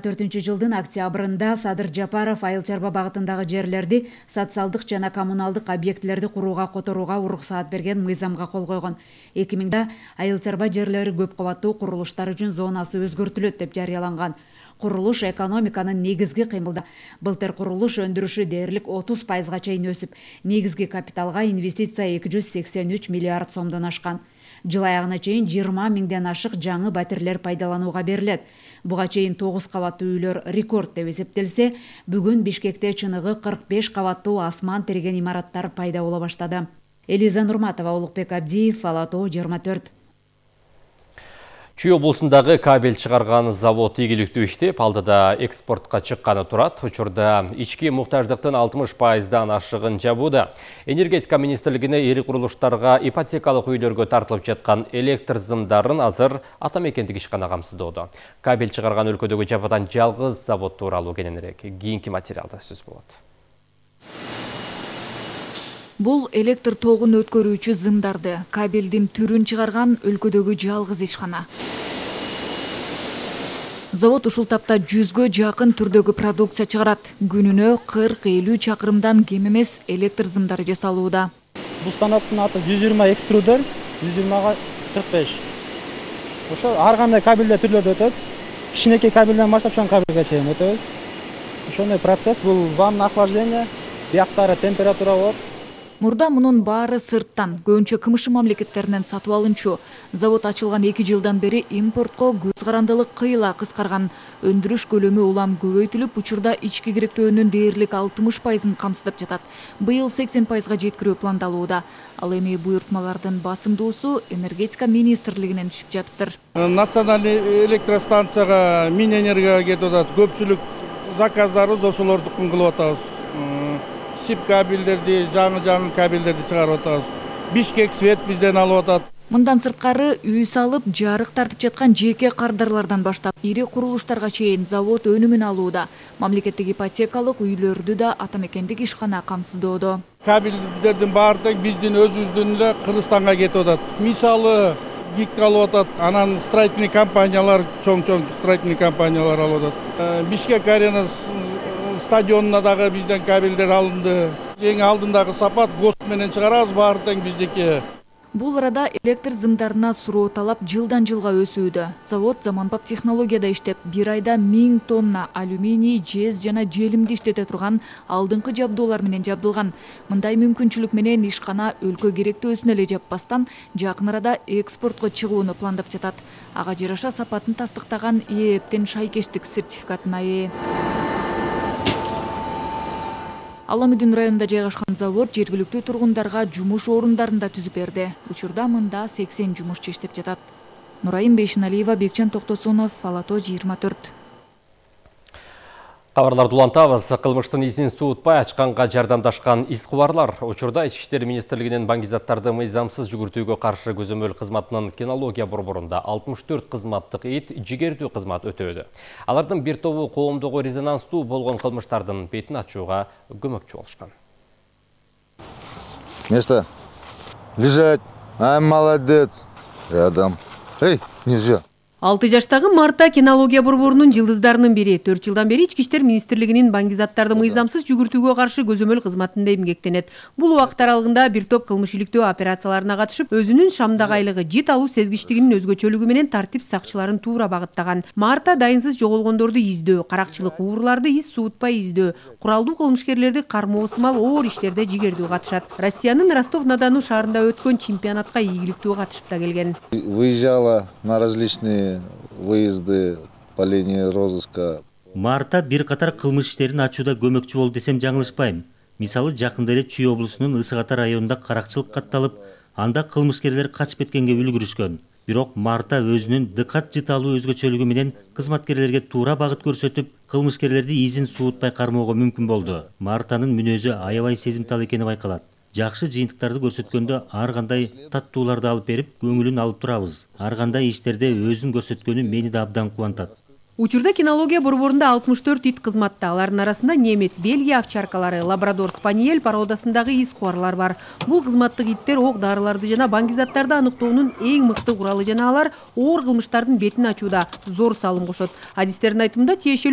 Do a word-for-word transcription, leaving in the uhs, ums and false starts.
төртүнчү жылдын октябрында Садыр Жапаров Айыл чарба багытындагы жерлерди социалдык жана коммуналдык объектилерди курууга которууга уруксаат берген мыйзамга кол койгон. эки миңде айыл чарба жерлери көп кабаттуу курулуштар үчүн зонасы өзгөртүлөт деп жарыяланган. Курулуш экономиканын негизги кыймылда. Былтыр курулуш өндүрүшү дээрлик отуз пайызга чейин өсүп, негизги капиталга инвестиция эки жүз сексен үч миллиард сомдон ашкан. Жыл аягына чейин жыйырма миңден ашык жаңы батирлер пайдаланууга берилет. Буга чейин тогуз кабаттуу үйлөр рекорд деп эсептелсе, бүгүн Бишкекте чыныгы кырк беш кабаттуу асман тиреген имараттар пайда боло баштады. Элиза Нурматова, Улукбек Абдиев, Ала Тоо жыйырма төрт. Чүй облусундагы кабель чыгарган завод ийгиликтүү иштеп, алдыда экспортко чыкканы турат. Учурда ички муктаждыктын алтымыш пайыздан ашыгын жабууда. Энергетика министрлигине ири курулуштарга ипотекалык үйлөргө тартылып жаткан электр зымдарын азыр ата мекендик ишкана камсыздоодо. Кабель чыгарган өлкөдөгү жападан жалгыз завод тууралуу кененирээк кийинки материалда сөз болот. Бул электр тогун өткөрүүчү зымдарды, кабелдин түрүн чыгарган өлкөдөгү жалгыз ишкана. Завод ушул тапта жүзгө жакын түрдөгү продукция чыгарат. Күнүнө кырк элүү чакырымдан кем эмес электр зымдары жасалууда. Бул станоктун аты жүз жыйырма экструдер, жүз жыйырмага кырк беш. Ошо ар кандай кабелдер түрлөрдө өтөт. Кичинекей кабелден баштап чоң кабелге чейин өтөбүз. Ошондой процесс, бул ванна охлаждение, бияктары температура болот. Мурда мунун баары сырттан, көбүнчө КМШ мамлекеттеринен сатып алынчу. Завод ачылган эки жылдан бери импортко көз карандылык кыйла кыскарган. Өндүрүш көлөмү улам көбөйтүлүп, учурда ички керектөөнүн дээрлик алтымыш пайызын камсыздап жатат. Быйыл сексен пайызга жеткирүү пландалууда. Ал эми буйртмалардын басымдуусу энергетика министрлигинен түшүп жатыптыр. Национальный электростанцияга Минэнергияга кетип атат. Көпчүлүк заказдарыбыз ошолордукун кылып атабыз. Сип кабелдерди, жаңы-жаңы кабелдерди чыгарып атабыз. Бишкек свет бизден алып атат. Мындан сырткары үй салып, жарык тартып жаткан жеке кардарлардан баштап ири курулуштарга чейин завод өнүмүн алууда. Мамлекеттик ипотекалык үйлөрдү да ата мекендик ишкана камсыздоодо. Кабелдердин баары тең биздин өзүбүздүн эле Кыргызстанга кетип атат. Мисалы ГИК алып атат, анан строительный компаниялар, чоң-чоң строительный компаниялар алып атат. Бишкек арена стадионуна дагы бизден кабелдер алынды. Эң алдындагы сапат ГОСТ менен чыгарабыз, баары тең биздики. Бул арада электр зымдарына суроо талап жылдан жылга өсүүдө. Завод заманбап технологияда иштеп, бир айда миң тонна алюминий, жез жана желимди иштете турган алдыңкы жабдуулар менен жабдылган. Мындай мүмкүнчүлүк менен ишкана өлкө керектөөсүн эле жаппастан, жакын арада экспортко чыгууну пландап жатат. Ага жараша сапатын тастыктаган ээптин шайкештик сертификатына ээ. Аламүдүн районунда жайгашкан завод жергиликтүү тургундарга жумуш орундарын да түзүп берди. Учурда мында сексен жумушчу иштеп жатат. Нурайым Бейшиналиева, Бекчан Токтосунов, Ала Тоо жыйырма төрт. Кабарларды улантабыз. Кылмыштын изин суутпай ачканга жардамдашкан изкубарлар. Учурда Ички иштер министрлигинин баңгизаттарды мыйзамсыз жүгүртүүгө каршы көзөмөл кызматынын кинология борборунда алтымыш төрт кызматтык ит жигердүү кызмат өтөөдө. Алардын бир тобу коомдогу резонанстуу болгон кылмыштардын бетин ачууга көмөкчү болушкан. Место. Лежать. Ай, молодец. Рядом. Эй, нельзя. алты жаштагы Марта кинология борборунун жылдыздарынын бири. төрт жылдан бери Ички иштер министрлигинин баңгизаттарды мыйзамсыз жүгүртүүгө каршы көзөмөл кызматында эмгектенет. Бул убакыт аралыгында бир топ кылмыш иликтөө операцияларына катышып, өзүнүн шамдагайлыгы, жит алуу сезгичтигинин өзгөчөлүгү менен тартип сакчыларын туура багыттаган. Марта дайынсыз жоголгондорду издөө, каракчылык, ууруларды из суутпай издөө, куралдуу кылмышкерлерди кармоо сымал оор иштерде жигердүү катышат. Россиянын Ростов-на-Дону шаарында өткөн чемпионатка ийгиликтүү катышып да келген. Выезжала на различные выезды по линии розыска. Марта бир катар кылмыш иштерин ачууда көмөкчү болду десем жаңылышпайм. Мисалы, жакында эле Чүй облусунун Ысык Ата районунда каракчылык катталып, анда кылмышкерлер качып кеткенге үлгүрүшкөн. Бирок Марта өзүнүн дыкат жыт алуу өзгөчөлүгү менен кызматкерлерге туура багыт көрсөтүп, кылмышкерлерди изин суутпай кармоого мүмкүн болду. Мартанын мүнөзү аябай сезимтал экени байкалат. Жакшы жыйынтыктарды көрсөткөндө ар кандай таттууларды алып берип, көңүлүн алып турабыз. Ар кандай иштерде өзүн көрсөткөнү мени да абдан кубантат. Учурда кинология борборунда алтымыш төрт ит кызматта. Алардын арасында немец, Бельгия овчаркалары, лабрадор, спаниель породасындагы из куарлар бар. Бул кызматтык иттер ок дарыларды жана баңгизаттарды аныктоонун эң мыкты куралы жана алар оор кылмыштардын бетин ачууда зор салым кошот. Адистердин айтымында тиешелүү